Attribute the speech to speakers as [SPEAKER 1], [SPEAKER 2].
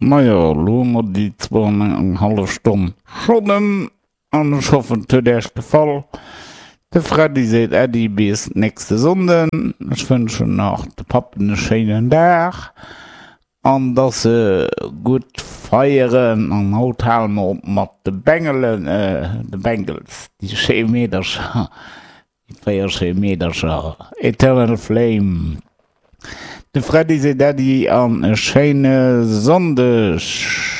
[SPEAKER 1] Majo, elo hu mer déi zwou an eng hallef Stonn schonn ëm an ech hoffen et huet Äech gefall. De Freddy seet Äddi bis nächste Sonnden. Ech wënschen nach de Pappen e schéinen Dag an dass se gutt feieren. An haut hale mer op mat de Bengelen, de Bengels, déi schéi Meedercher. Déi 4 schéi Meedercher, Eternal Flame, de Freddy seet Äddi an e schéine Sonndeg.